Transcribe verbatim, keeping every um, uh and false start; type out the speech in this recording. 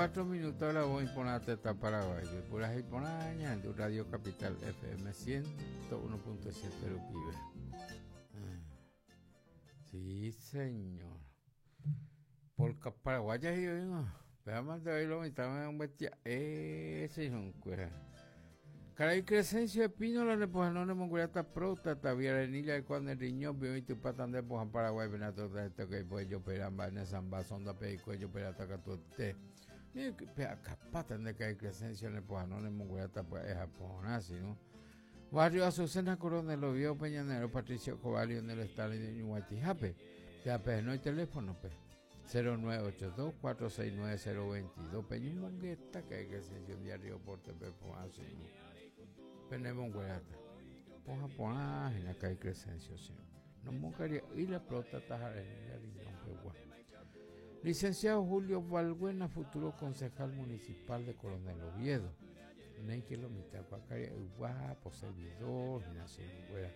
cuatro minutos la voy por teta Paraguay. Pura y por en Radio Capital F M ciento uno punto siete Rupibe. Sí, señor. Por Paraguay ya yo digo. Pero más de hoy lo mitad un bestia. Ese es un cuero. Caray Crescencio Espínola le pojan no mongoliata próstata viarenilla de cuando el riñón vio y tu patan de pojan Paraguay venato de esto que pues yo peramba en esa sonda pe cuello perata catuete. Mira que acá patan de caray Crescencio le pojan no mongoliata pues es japonés, ¿no? Barrio Azucena Coronel Oviedo Peñanero Patricio Cobalio en el estadio de Ñuguatijape. Ya pues no hay teléfono pues. cero nueve ocho dos, cuatro seis nueve, cero veintidós Peña Mongueta que hay Crescencio diario por T P así, ¿no? Tenemos guerata. Poja poja en la calle Crescencio, sí. No mocaría y la próstata jareña riñón pegua. Licenciado Julio Valbuena, futuro concejal municipal de Coronel Oviedo. Ney que lo mitad guacaria guapo servidor nación güera.